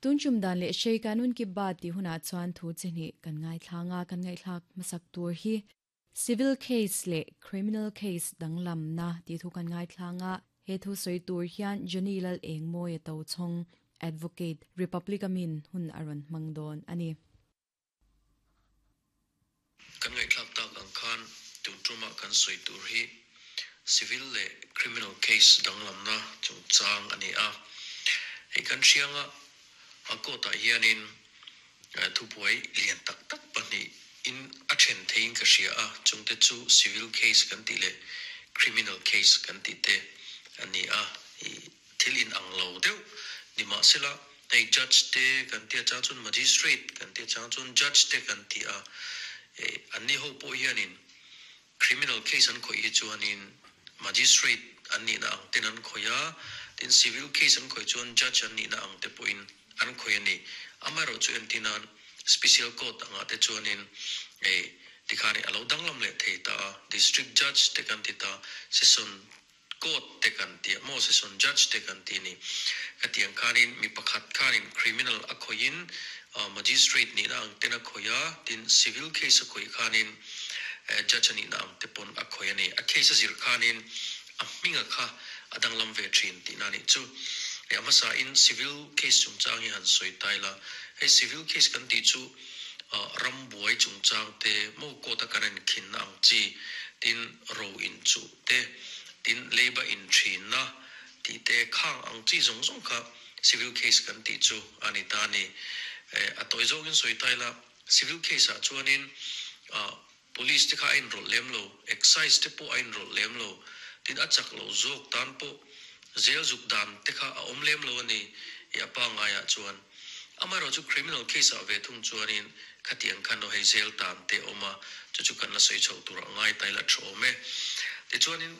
Tun tum dan leh hrei kanun ki baat tih hunah chuan thu chi hnih kan ngaithlang a, kan ngaihthlak hmasak tur hi Civil case leh Criminal case danglamna tih thu kan ngaithlang a, he thu sawi tur hian Johnny Lal Engmawia Tochhawng, Advocate, Republic a min hun a rawn hmang dawn a ni. Kan ngaihthlak tak ang khan tun tumah kan sawi tur hi civil leh criminal case danglamna chungchang a ni a. Hei kan hrianga a court ah hianin thubuai lian tak tak pahnih in a then theiin ka hria a, chungte chu civil case kan tih leh criminal case kan tih te a ni a. Thil in ang lo deuh ni mahsela hei judge te kan tia chang chuan magistrate kan tia chang chuan judge te kan ti a, eh anni ho pawh hianin criminal case an khawih hi chuanin magistrate an nihna ang ten an khawih a, tin civil case an khawih chuan judge an nihna ang te pawhin an khawih a ni. Amaherawhchu entir nan special court angah te chuanin eh tikhan a lo danglam leh thei ta a, district judge te kan ti ta, session Court te kan tih a maw session judge te kan tih ni. Ka tih ang khanin mi pakhat khanin criminal a khawihin magistrate nihna ang ten a khawih a, tin civil case a khawih khanin judge a nihna ang te pawn a khawih a ni. A case a zir khanin a hminga kha a danglam ve thin tihna a nih chu. A hmasa in civil case chungchang hi han sawi ta ila, hei civil case kan tih chu rambuai chungchang te maw court a kan enkhinna ang chi tin ro inchuh te, tin leiba inthinna tih te khang ang chi zawng zawng kha civil case kan tih chu a ni ta a ni. A tawi zawngin sawi ta ila, civil case ah chuanin police te kha a inrawlh lem lo, excise te pawh a inrawlh lem lo, tin a chak lo zawk tan pawh zel zuk dan te kha a awm lem lo a ni i a pangaiah chuan. Amaherawh chu criminal case ah ve thung chuanin khatiang khan aw hei zel tan te a awm a, chu chu kan la sawi chhoh tur a ngai ta ila tha awm e. Tichuanin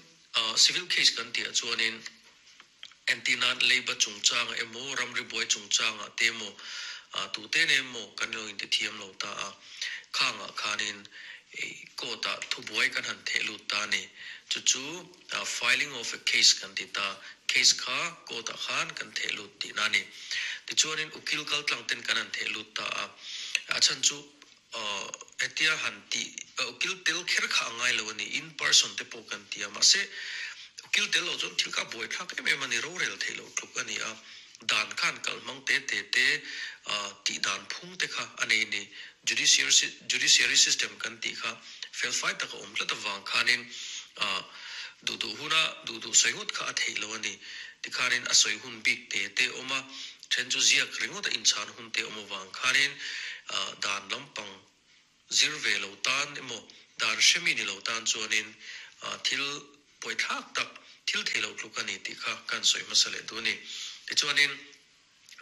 civil case kan tih ah chuanin entir nan leiba chungchangah emaw ramri buai chungchangah te emaw tute nen emaw kan lo intithiam lo ta a, khangah khanin court ah thubuai kan han theh lut ta a ni. Chu chu filing of a case kan ti ta, case kha court ah khan kan theh lut tihna a ni. Tichuanin ukil kal tlang ten kan han theh lut ta a, a chhan chu hetia han tih ukil tel kher kha a ngai lo a ni, in person te pawh kan ti a, mahse ukil tel loh chuan thil kha a buaithlak em em a ni, rorel theih loh tluk a ni a, dan khan kal hmang te te te tih dan phung te kha a nei a ni, judiciary system kan tih kha felfai tak a awm tlat avang khanin duh duh huna duh duh sawi ngawt kha a theih loh a ni. Tikhanin a sawi hun bik te te awm a, then chu ziak ringawt a inchhan hun te awm avang khanin dan lampang zir ve lo tan emaw dan hremi ni lo tan chuanin thil pawithlak tak thil thei lo tluk a ni tih kha kan sawi hmasa leh duh a ni. Tichuanin.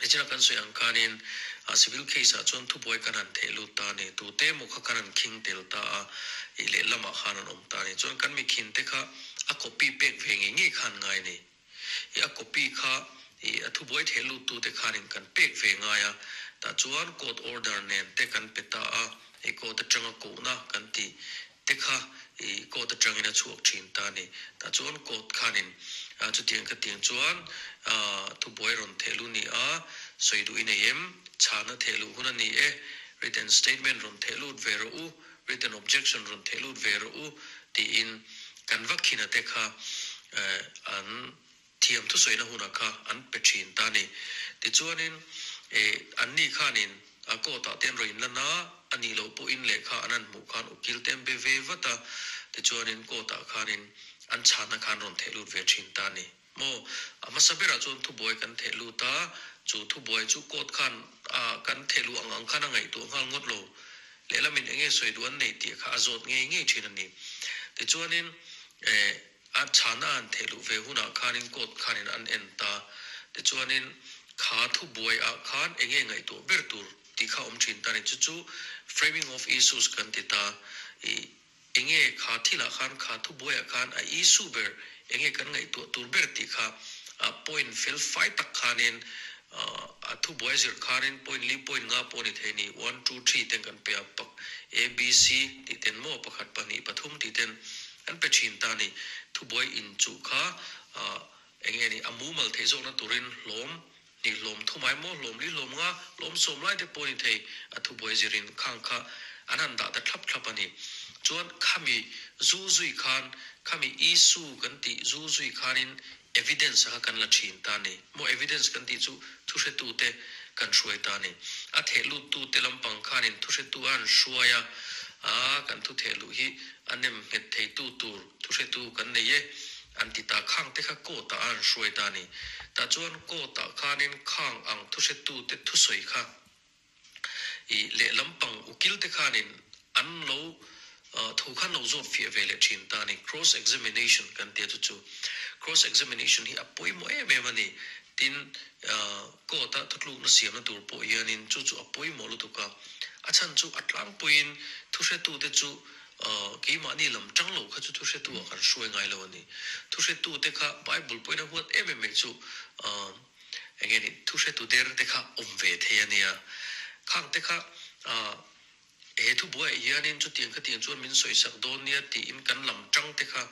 Nichina kan sawi ang khanin civil case ah chuan thubuai kan han theh lut ta a ni. Tute emaw kha kan han khing tel ta a, ih lehlamah khan an awm ta a ni. Chuan kan mi khin te kha a copy pek ve ngei ngei khan ngai a ni. Ih a copy kha ih a thubuai theh lut tute khanin kan pek ve ngai a, tah chuan court order nen te kan pe ta a, ih court atanga kohna kan tih te kha i court atangin a chhuak thin ta a ni. Tah chuan court khanin chutiang khatiang chuan thubuai rawn theh luh ni a, sawi duh i nei em? Chhana theh luh hun a ni e, written statement rawn theh lut ve rawh u, written objection rawn theh lut ve rawh u tiin kan va khina te kha an thiam thusawina hunah kha an pe thin ta a ni. Tichuanin anni khanin a court ah te an rawn inlan a, a nih loh pawhin lehkha an han hmuh khan ukil te an be ve vat a, tichuanin court ah khanin an chhanna khan rawn theh lut ve thin ta a ni. Maw? A hmasa berah chuan thubuai kan theh lut a, chu thubuai chu court khan kan theh luh ang ang khan a ngaihtuah nghal ngawt lo. Lehlamin enge sawi duh an neih tih kha a zawt ngei ngei thin a ni. Tichuanin A chhana an theh luh ve hunah khanin court khanin an en ta. Tichuanin kha thubuai ah khan enge ngaihtuah ber tur tih kha awm thin ta ni. Chu chu framing of issues kan ti ta. I enge kha thilah khan kha thubuai ah khan a issue ber enge kan ngaihtuah tur ber tih kha a point fel fai tak khanin a thubuai zir khanin point li point nga pawh a ni thei ni. One two three ten kan pe a pak A B C tih ten maw pakhat pahnih pathum tih ten An pe thin ta ni. Thubuai in chuh kha eng nge ni a mumal theih zawkna turin hlawm hnih hlawm thum. thumai maw hlawm li hlawm nga hlawm sawm lai te pawh a ni thei a thubuai zirin khang kha an han dah ta thlap thlap a ni. Chuan khami zu zui khan khami issue kan tih zu zui khanin evidence a kha kan la thin ta a ni. Maw evidence kan tih chu thuhretute kan hruai ta a ni. A thehluttu te lampang khanin thuhretu a han hruai a, a kan thu thehluh hi a nem nghet theitu tur thuhretu kan nei e an ti ta. Khang te kha court ah a han hruai ta a ni. Tah chuan court ah khanin khang ang thuhretu te thusawi kha I lehlam pang ukil te khanin an lo thu khan lo zawt fiah ve leh thin ta a ni. Cross examination kan tia chu chu cross examination hi a pawimawh em em a ni. Tin, court a thutlukna siamna tur pawh hianin chu chu a pawimawh lutuk a. A chhan chu a tlangpuiin thuhretute chu keimahni lam tang lo kha chu thuhretu ah kan hruai ngai lo a ni. Thuhretute kha Bible pawhin a huat em em mai chu Enge ni thu hretu der te kha awm ve thei a nia. Khang te kha ah he thu buaiah hianin chutiang khatiang chuan min sawisak dawn nia tiin kan lam tang te kha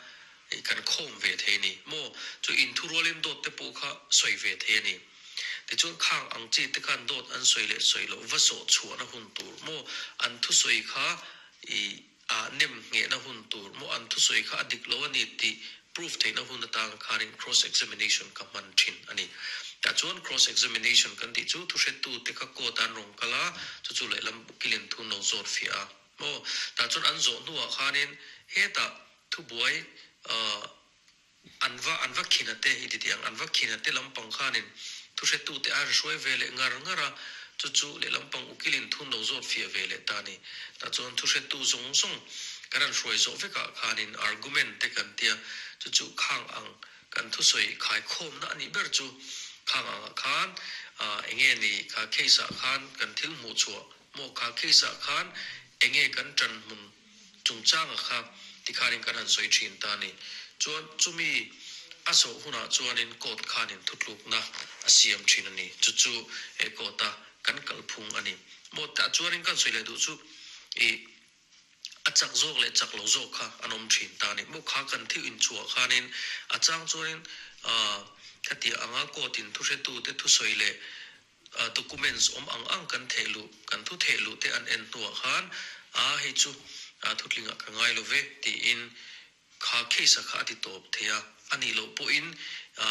ih kan khawm ve thei a ni. Maw chu inthu rualin dawt te pawh kha sawi ve thei a ni. Tichuan khang ang chi te khan dawt an sawi leh sawi loh va zawh chhuahna hun tur maw an thusawi kha ih ah nem nghehna hun tur maw an thusawi kha a dik lo a ni tih proof theihna hun atang khanin cross examination ka hman thin a ni. Tah chuan cross examination kan tih chu thuhretu te kha court ah an rawn kal a, chu chu lehlam ukilin thu an lo zawt fiah a maw. Tah chuan an zawh hnuah khanin hetah thubuai ah An va an va khin a te i ti tih ang, an va khin a te lampang khanin thuhretute a han hruai ve leh ngar ngar a, chu chu lehlampang ukilin thun lo zawt fiah ve leh ta a ni. Tah chuan thuhretu zawng zawng kan han hruai zawh vekah khanin argument te kan tia, chu chu khang ang kan thusawi khaikhawmna a nih ber chu khang angah khan enge ni kha case ah khan kan thil hmuh chhuah maw kha case ah khan enge kan ṭan hmun chungchanga kha tikhanin kan han sawi thin ta a ni. Chuan chumi a zawh hunah chuanin court khanin thutlukna a siam thin a ni. Chu chu he court a kan kalphung a ni. Maw tah chuanin kan sawi leh duh chu ih a chak zawk leh chak lo zawk kha an awm thin ta a ni. Maw kha kan thil inchhuah khanin a chang chuanin ah khatiang anga court in thuhretute thusawi leh Documents awm ang ang kan theh luh, kan thu theh luh te an en hnuah khan, a hei chu thutlingah ka ngai lo ve tiin kha case a kha a ti tawp thei a. A nih loh pawhin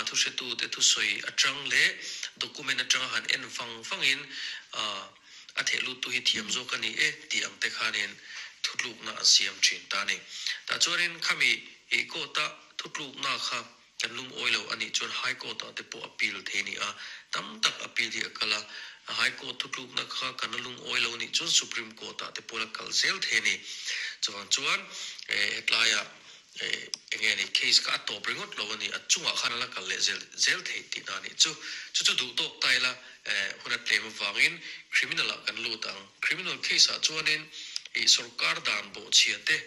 thuhretu te thusawi atang leh document atanga han en vang vangin a theh luttu hi thiam zawk a ni e tih ang te khanin thutlukna an siam thin ta a ni. Tah chuanin khami court-a thutlukna kha Kan lungawi lo a nih chuan High Court ah te pawh appeal thei a ni a, tam tak appeal hi a kal a, High Court thutlukna kha kan la lungawi lo a nih chuan Supreme Court ah te pawh la kal zel thei a ni. Chuvang chuan hetlaiah eng nge ni case kha a tawp ringawt lo a ni, a chungah khan a la kal leh zel zel theih tihna a nih chu. Chu chu duh tawk ta ila hun a tlem avangin criminal ah kan lut ang. Criminal case ah chuanin ih sorkar dan bawhchhia te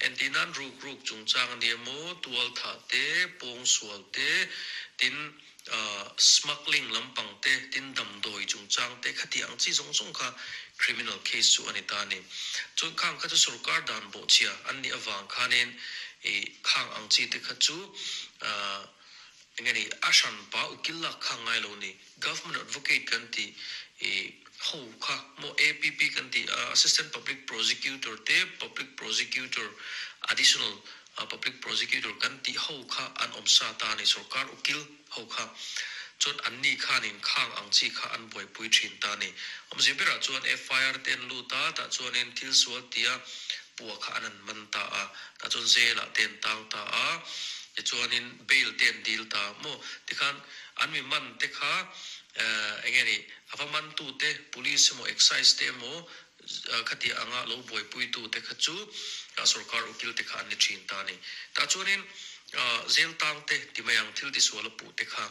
entir nan ruk ruk chungchang a ni emaw, tual thah te, pawng sual te, tin ah smuggling lampang te, tin damdawi chungchang te khati ang chi zawng zawng kha criminal case chu a ni ta a ni. Chuan khang kha chu sorkar dan bawhchhia an nih avang khanin ih khang ang chi te kha chu ah Enge ni, a hran pa ukil lak kha ngai lo ni, Government Advocate kan tih i ho kha maw APP kan tih a Assistant Public Prosecutor te Public Prosecutor Additional Public Prosecutor kan tih ho kha an awm sa ta a ni, sorkar ukil ho kha chuan an ni khanin khang ang chi kha an buaipui thin ta a ni. Awmzia berah chuan FIR te an lut a, tah chuanin thil sual tia pua kha an an man ta a, tah chuan jail ah te an tang ta a, tichuanin bail te an dil ta maw tikhan an mi man te kha eng nge ni a va man tu te police emaw excise te emaw khatiang anga lo buaipui tu te kha chu sorkar ukil te kha an ni thin ta a ni. Tah chuanin jail tang te ti mai ang thil tisual a puh te kha.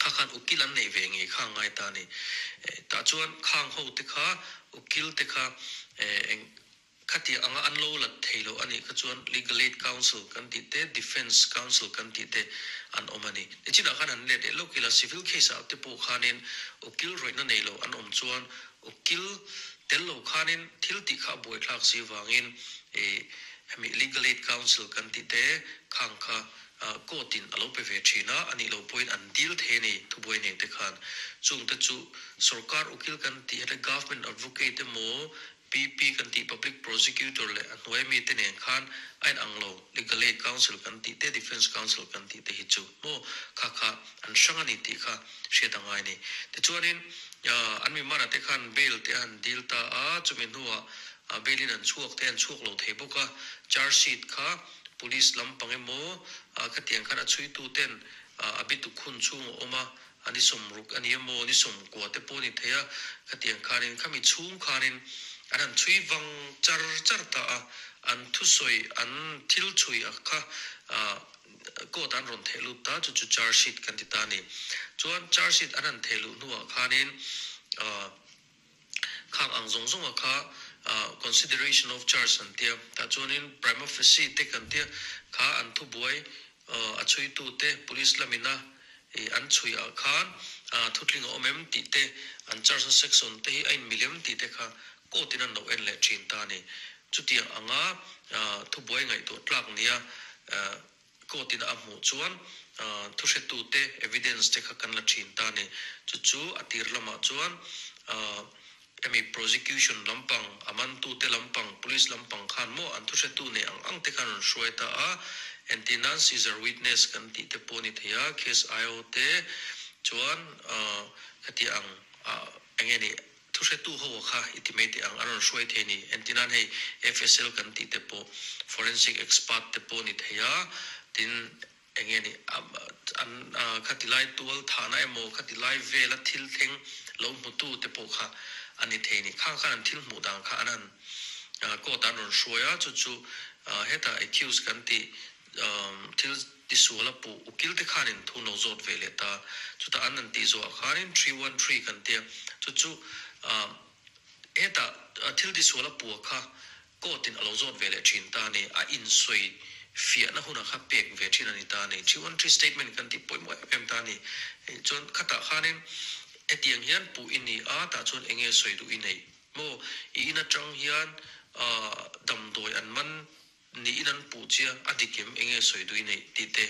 Kha khan ukil an neih ve ngei kha a ngai ta a ni. Tah chuan khang ho te kha ukil te kha eng khatiang anga an lo lat thei lo a nih kha chuan Legal Aid Council kan tih te, Defence Council kan tih te an awm a ni. Nichinah khan han let leh lawk ila civil case ah te pawh khanin ukil rawihna nei lo an awm chuan ukil tel lo khanin thil tih kha a buaithlak si vangin hemi Legal Aid Council kan tih te khang kha. Court in a lo pe ve thin a, a nih loh pawhin an dil thei a ni, thubuai nei te khan. Chung te chu sorkar ukil kan tih heta government advocate emaw PP kan tih public prosecutor leh a hnuai mi te nen khan a in ang lo, legal aid counsel kan tih te defence counsel kan tih te hi chu maw kha kha an hrang a ni tih kha hriat a ngai a ni. Tichuanin an mi mana te khan bail te a han dil ta a, chumi hnuah bail in an chhuak te an chhuak lo thei bawk a, charge sheet kha Police lampang emaw khatiang khan a chhuitu ten a bituk hun chhung a awm a, a ni sawmruk a ni emaw ni sawmkua te pawh a ni thei a, khatiang khanin khami chhung khanin an han chhui vang char char ta a, an thusawi an thil chhui a kha court an rawn theh lut ta chu chu charge sheet kan ti ta a ni. Chuan charge sheet an han theh luh hnuah khanin Khang ang zawng zawnga kha consideration of charge an tia, tah chuanin prima facie te kan tia, kha an thubuai a chhuitu te police lamina an chhui ah khan thutling a awm em tih te, an charge na section te hi a inmil em tih te kha court in an lo en leh thin ta a ni. Chutiang anga thubuai ngaihtuah tlak nia Court in a hmuh chuan thuhretute evidence te kha kan la thin ta a ni. Chu chu a tir lamah chuan hemi prosecution lampang, a mantute lampang, police lampang khan maw an thuhretu nei ang ang te khan rawn hruai ta a. Entir nan Caesar witness kan tih te pawh a ni thei a, case IO te chuan khati ang eng nge ni Thuhretu ho kha i ti mai teh ang, a rawn hruai thei a ni. Entirnan hei FSL kan tih te pawh forensic expert te pawh a ni thei a, tin eng nge ni an khati lai tual thahna emaw khati lai vela thil thleng lo hmutu te pawh kha a ni thei a ni. Khang khan an thil hmuh dan kha an han court ah an rawn hruai a, chu chu hetah accused kan tih Thil tisual a puh ukil te khanin thu no zawt ve leh ta. Chutah an an tih zawhah khanin 313 kan tia. Chu chu hetah thil tisual a puh a kha court in a lo zawt ve leh thin ta a ni. A insawi fiahna hunah kha pek ve thin a ni ta a ni. 313 statement kan tih pawimawh em em ta a ni. Chuan khatah khanin hetiang hian puh i ni a, tah chuan enge sawi duh i neih maw? I in atang hian damdawi an man Niin an puh chia, a dik em, enge sawi duh i neih tih te,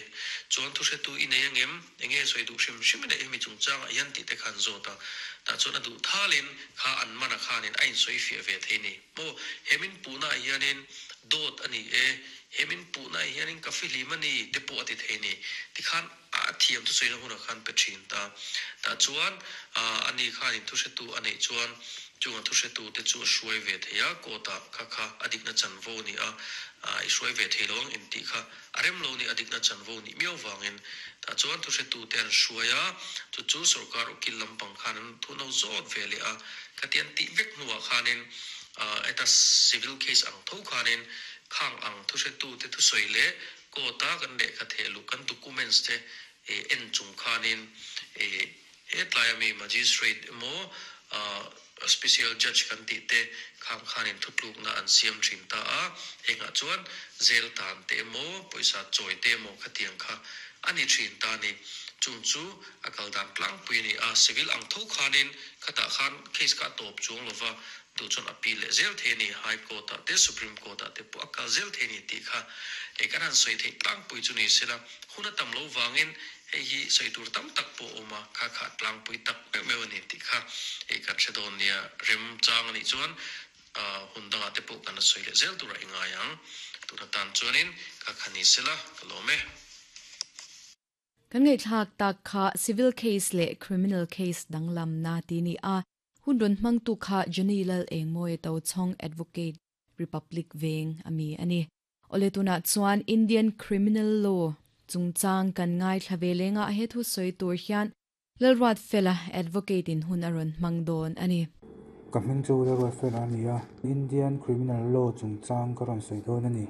chuan thuhretu i nei angem, enge sawi duh hrim hrim i neih hemi chungchangah hian tih te kha an zawt a, tah chuan a duh thalin kha an mana khanin a insawi fiah ve thei ni maw, he min puhnaah hianin dawt a ni e, he min puhnaah hianin ka fihlim a ni te pawh a ti thei ni, tikhan a thiam thusawina hunah khan pe thin ta, tah chuan ani khanin thuhretu a neih chuan Chunga thuhretute chu a hruai ve thei a, court-ah kha kha a dikna chanvo ni a, i hruai ve thei lo ang intih kha a rem lo ni, a dikna chanvo nih miau vangin. Tah chuan thuhretute an hruai a, chu chu sorkar ukil lampang khan an thu no zawt ve leh a, khati an tih vek hnuah khanin heta civil case ang tho khanin khang ang thuhretute thusawi leh court-a kan lehkha theh luh kan documents te en chung khanin He tlaia mi Magistrate emaw Special Judge kan tih te khang khanin thutlukna an siam thin ta a, hengah chuan jail tan te emaw pawisa chawi te emaw khatiang kha a ni thin ta a ni. Chung chu a kal dan tlangpui a ni a, civil ang tho khanin khatah khan case kha a tawp chuang lova, duh chuan appeal leh zel thei a ni, High Court ah te Supreme Court ah te pawh a kal zel thei a ni tih kha hei kan han sawi theih tlangpui chu ni sela, hun a tam lo vangin Hei hi sawi tur tam tak pawh a awm a, kha kha tlangpui tak meuh meuh a ni tih kha hei kan hre dawn nia. Remchang a nih chuan hun dangah te pawh kan la sawi leh zel turah i ngai ang. Tun atan chuanin kha kha ni sela ka lawm e. Kan ngaihthlak tak kha civil case leh criminal case danglamna ti ni a, hun rawn hmangtu kha Johnny Lal Engmawia Tochhawng Advocate, Republic Veng a mi a ni. Awle tunah chuan Indian Criminal Law chungchang kan ngaithla ve lengah he thu sawi tur hian Lalruatfela Advocate in hun a rawn hmang dawn a ni. Ka hming chu Lalruatfela a ni a, Indian Criminal Law chungchang ka rawn sawi dawn a ni.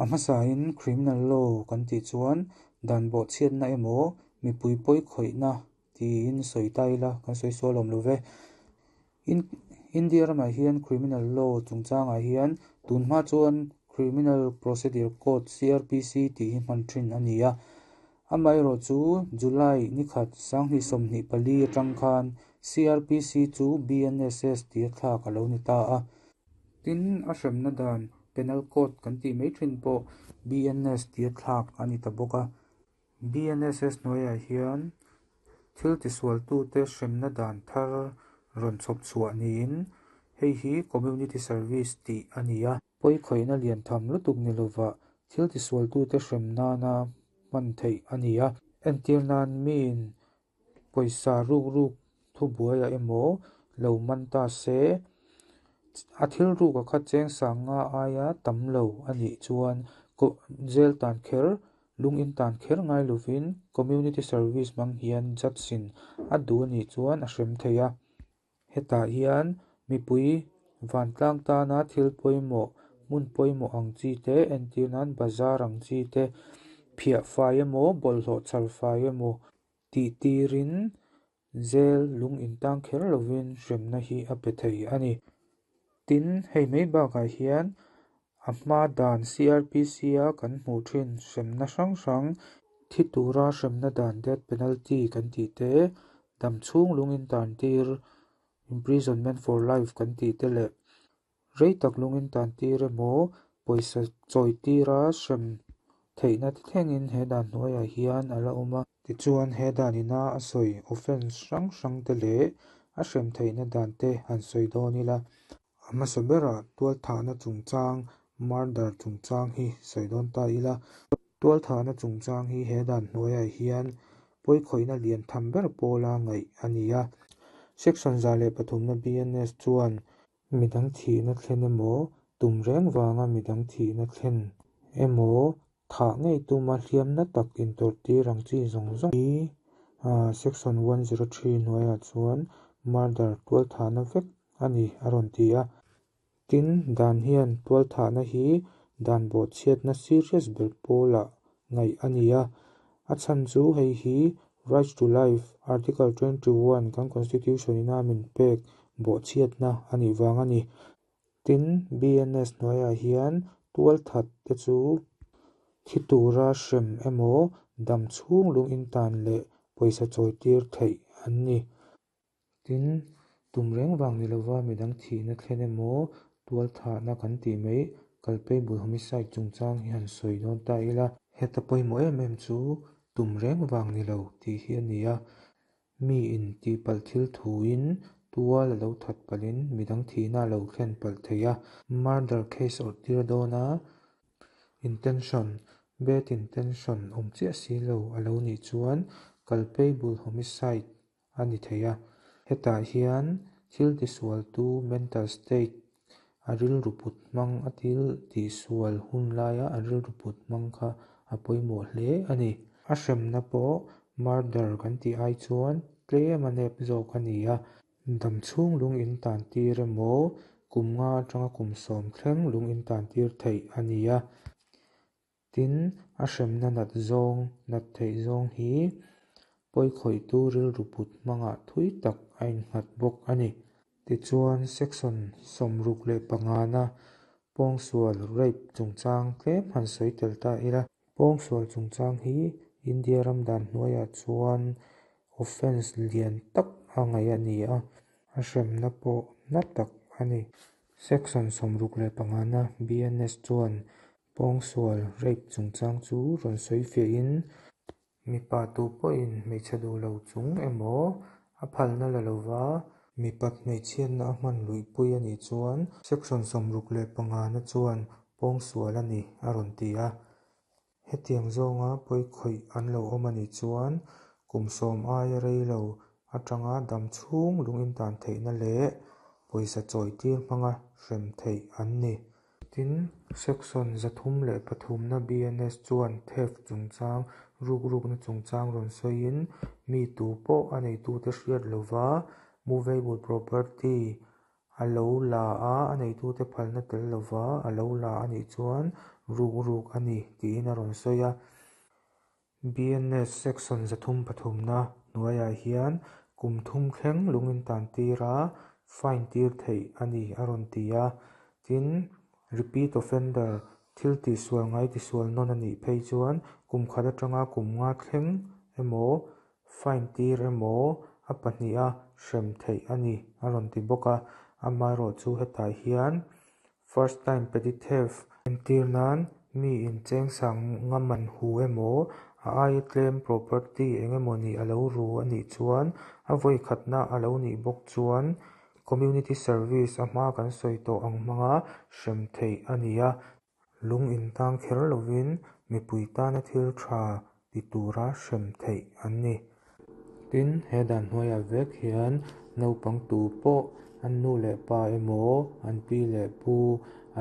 A hmasain Criminal Law kan tih chuan dan bawhchhiatna emaw mipui pawi khawihna tiin sawi ta ila kan sawi sual awm lo ve. India ramah hian Criminal Law chungchangah hian tunhma chuan Criminal Procedure Code, CrPC, tih hi hman thin a ni a. Amaherawh chu July nikhat 2024 atang khan CrPC chu BNSS tia thlak a lo ni ta a. Tin, a hremna dan Penal Code kan tih mai thin pawh BNS tia thlak a ni ta bawk a. BNSS hnuaiah hian thil tisualtute hremna dan thar rawn chhawp chhuah niin hei hi community service tih a ni a. Pawikhawihna lian tham lutuk ni lova thil tisualtute hrem nana hman theih a ni a. Entir nan miin pawisa ruk ruk thubuaiah emaw lo man ta se, a thil ruka kha cheng sanga aia tam lo a nih chuan jail tan kher, lung in tan kher ngai lovin community service hmang hian judge in a duh a nih chuan a hrem thei a. Hetah hian mipui vantlang tana thil pawimawh, hmun pawimawh ang chi te, entir nan bazar ang chi te, phiah fai emaw, bawlhhlawh chhar fai emaw tih tirin jail lung in tang kher lovin hremna hi a pe thei a ni. Tin, hei mai bakah hian a hma dan CRPC a kan hmuh thin hremna hrang hrang thi tura hremna dan death penalty kan tih te, dam chhung lung in tan tir imprisonment for life kan tih te leh rei tak lung in tan tir emaw pawisa chawi tira hrem theihna te thlengin he dan hnuaiah hian a la awm a. Tichuan he danina a sawi offence hrang hrang te leh a hrem theihna dan te han sawi dawn ila. A hmasa berah tualthahna chungchang, murder chungchang hi sawi dawn ta ila. Tualthahna chungchang hi he dan hnuaiah hian pawikhawihna lian tham ber pawla ngaih a ni a. Section 103na BNS chuan midang thihna thlen emaw, tum reng vanga midang thihna thlen emaw, thah ngei tuma hliamna tak intawrhtir ang chi zawng zawng hi section 103 hnuaiah chuan murder tualthahna vek a ni a rawn ti a. Tin, dan hian tualthahna hi dan bawhchhiatna serious ber pawlah ngaih a ni a. A chhan chu hei hi right to life article 21 kan constitution ina min pek bawhchhiatna a nih vang a ni. Tin, BNS hnuaiah hian tualthat te chu thi tura hrem emaw, dam chhung lung in tan leh pawisa chawi tir theih an ni. Tin, tum reng vang ni lova midang thihna thlen emaw, tualthahna kan tih mai culpable homicide chungchang hi han sawi dawn ta ila. Heta pawimawh em em chu tum reng vang ni lo tih hi a ni a. Mi in tihpalh thil thuin tual a lo that palhin midang thihna a lo thlen palh thei a. Murder case awrh tir dawna intention, bad intention awm chiah si lo a lo nih chuan culpable homicide a ni thei a. Hetah hian thil tisualtu mental state a rilru put hmang a thil tihsual hun laia a rilru put hmang kha a pawimawh hle a ni. A hremna pawh murder kan tih ai chuan tlem a nep zawk a ni a. Dam chhung lung in tan tir emaw, kum nga atanga kum 10 thleng lung in tan tir theih a ni a. Tin, a hremna nat zawng, nat theih zawng hi pawikhawihtu rilru put hmangah thui tak a innghat bawk a ni. Tichuan, section 65na pawngsual rape chungchang tlem han sawi tel ta ila. Pawngsual chungchang hi India ram dan hnuaiah chuan offence lian tak a ngaih a ni a, a hremna pawh na tak a ni. Section 65na BNS chuan pawngsual rape chungchang chu rawn sawi fiahin mipa tu pawhin hmeichhe duh lo chung emaw a phalna la lova mipat hmeichhiatna a hman luihpui a nih chuan section 65na chuan pawngsual a ni a rawn ti a. Hetiang zawnga pawikhawih an lo awm a nih chuan kum 10 aia rei lo atanga dam chhung lung in tan theihna leh pawisa chawi tir hmanga hrem theih an ni. Tin, section 303na BNS chuan theft chungchang, ruk rukna chungchang rawn sawiin mi tu pawh a neitute hriat lova movable property a lo la a, a neitute phalna tel lova a lo la a nih chuan ruk ruk a ni tiin a rawn sawi a. BNS section 303na hnuaiah hian kum 3 thleng lung in tan tira fine tir theih a ni a rawn ti a. Tin, repeat offender thil tihsual ngai tisual nawn a nih phei chuan kum khat atanga kum nga thleng emaw fine tir emaw a pahnih a hrem theih a ni a rawn ti bawk a. Amaherawh chu hetah hian first time petty theft entir nan mi in cheng sang nga man hu emaw a aia tlem property engemawni a lo ru a nih chuan a vawi khatna a lo nih bawk chuan community service a hma kan sawi tawh ang hmanga hrem theih a ni a. Lung intang kher lovin mipui tana thil tha ti tura hrem theih an ni. Tin, he dan hnuaiah vek hian naupang tu pawh an nu leh pa emaw, an pi leh pu,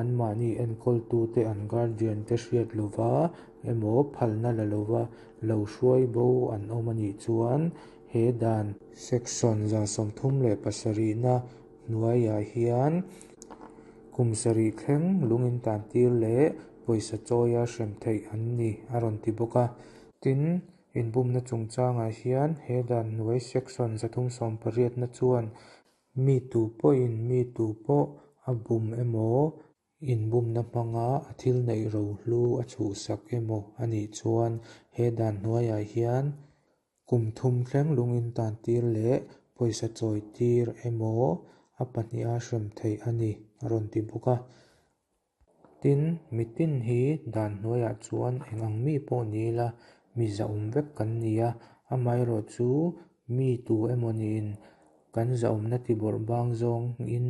anmahni enkawltute, an guardian te hriat lova emaw phalna la lova lo hruai bo an awm a nih chuan he dan Section 137na hnuaiah hian kum sarih thleng lung intantir leh pawisa chawia hrem theih an ni a rawn ti bawk a. Tin, inbumna chungchangah hian he dan hnuai Section 380na chuan mi tu pawhin mi tu pawh a bum emaw, inbumna hmanga a thil neih rohlu a chhuhsak emaw a nih chuan he dan hnuaiah hian kum thum thleng lung intantir leh pawisa chawitir emaw a pahniha hrem theih a ni a rawn ti bawk a. Tin, mitin hi dan hnuaiah chuan eng ang mi pawh ni ila mi zahawm vek kan ni a, amaherawhchu mi tu emaw niin kan zahawmna tibawrh bang zawngin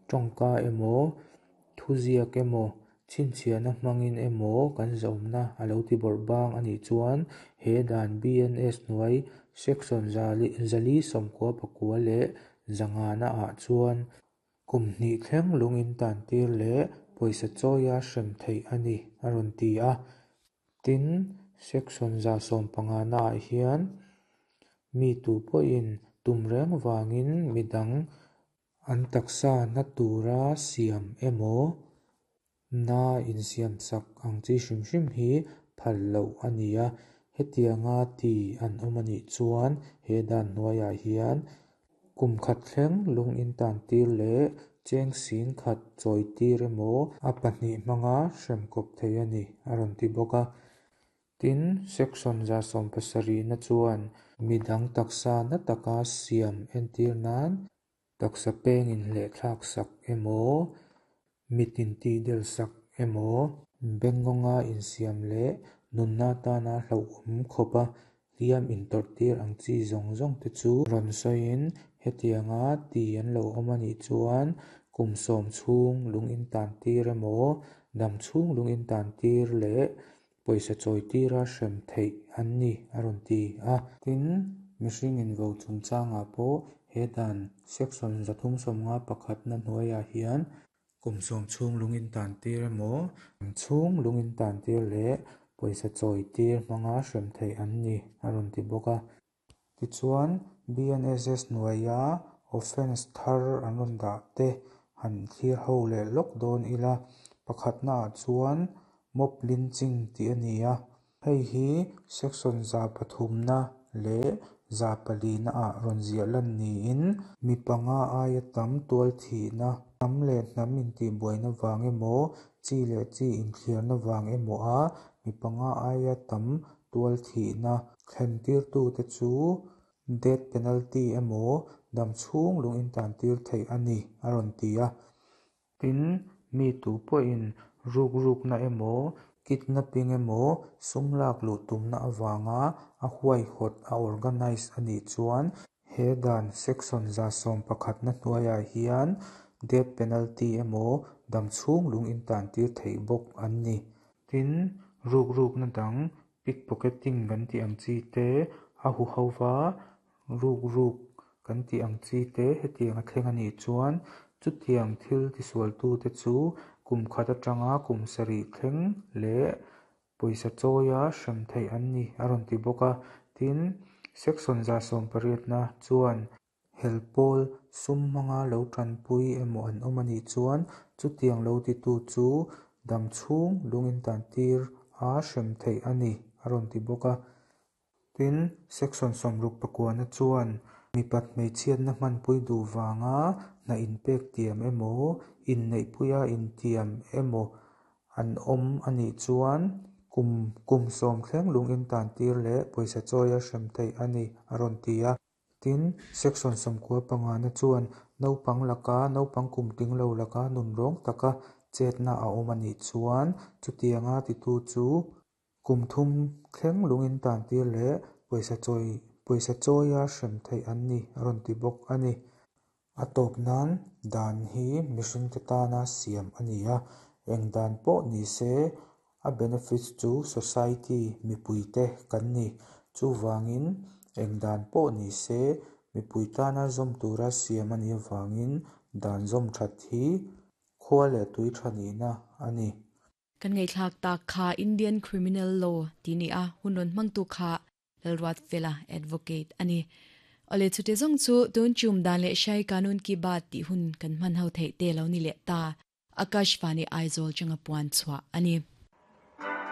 tawngka emaw, thuziak emaw, chhinchhiahna hmangin emaw kan zahawmna a lo tibawrh bang a nih chuan he dan BNS hnuai Section 499 leh 500 ah chuan kum hnih thleng lung intantir leh pawisa chawia hrem theih a ni a rawn ti a. Tin, Section 150 ah hian mi tu pawhin tum reng vangin midang an taksa na tura siam emaw, na insiamsak ang chi hrim hrim hi phal loh a ni a. Hetianga ti an awm a nih chuan he dan hnuaiah hian kum khat thleng lung intantir leh cheng sing khat chawitir emaw a pahnih hmanga hrem kawp thei a ni a rawn ti bawk a. Tin, Section 170na chuan midang taksa na taka siam entir nan taksa peng inhlehthlak sak emaw, mit intihdel sak emaw, bengawnga insiam leh nunna atana hlauhawm khawpa hliam intawrhtir ang chi zawng zawng te chu rawn sawiin hetianga ti an lo awm a nih chuan kum 10 chhung lung intantir emaw, dam chhung lung intantir leh pawisa chawitira hrem theih an ni a rawn ti a. Tin, mihring invo chungchangah pawh he dan Section 351na hnuaiah hian kum 10 chhung lung intantir emaw, dam chhung lung intantir leh pawisa chawitir hmanga hrem theih an ni a rawn ti bawk a. Tichuan, BNSS hnuaia offence thar an rawn dah te han thlir ho leh lawk dawn ila, pakhatnaah chuan mob lynching tih a ni a. Hei hi Section 300na leh 400na ah rawn ziah lan niin mi panga aia tam tual thihna, hnam leh hnam intihbuaina vang emaw, chi leh chi inthliarna vang emaw a mi panga aia tam tual thihna thlen tirtute chu death penalty emaw dam chhung lung intantir theih a ni a rawn ti a. Tin, mi tu pawhin ruk rukna emaw, kidnapping emaw, sum lak luh tumna avanga a huaihawt a organize a nih chuan he dan Section 111na hnuaiah hian death penalty emaw dam chhung lung intantir theih bawk an ni. Tin, ruk rukna dang pickpocketing kan tih ang chi te, a huhova ruk ruk kan tih ang chi te hetiang a thleng a nih chuan chutiang thil tisualtute chu kum khat atanga kum sarih thleng leh pawisa chawia hrem theih an ni a rawn ti bawk a. Tin, Section 180na chuan hel pawl sum hmanga lo tanpui emaw an awm a nih chuan chutiang lo titu chu dam chhung lung intantir a hrem theih a ni a rawn ti bawk a. Tin, Section 69na chuan mipat hmeichhiatna hmanpui duh vanga hna inpek tiam emaw, inneihpuia intiam emaw an awm a nih chuan kum kum 10 thleng lung intantir leh pawisa chawia hrem theih a ni a rawn ti a. Tin, Section 95na chuan naupang laka naupang kum tling lo laka nun rawng taka chetna a awm a nih chuan chutianga titu chu Kum thum thleng lungin tan tir leh pawisa chawi pawisa chawia hrem theih an ni a rawn ti bawk a ni. A tawp nan dan hi mihringte tana siam a ni a, eng dan pawh ni se a benefits chu society mipuite kan ni. Chuvangin eng dan pawh ni se mipui tana zawm tura siam a nih avangin dan zawm that hi khua leh tui tha nihna a ni. Kan ngaihthlak tak kha Indian Criminal Law tih ni a, hun rawn hmangtu kha Lalruatfela Advocate a ni. Awle chute zawng chu tun chum dan leh Shai Kanun Ki Baat tih hun kan hman ho theih te lo ni leh ta. Akashvani Aizawl changa puan chhuah a ni.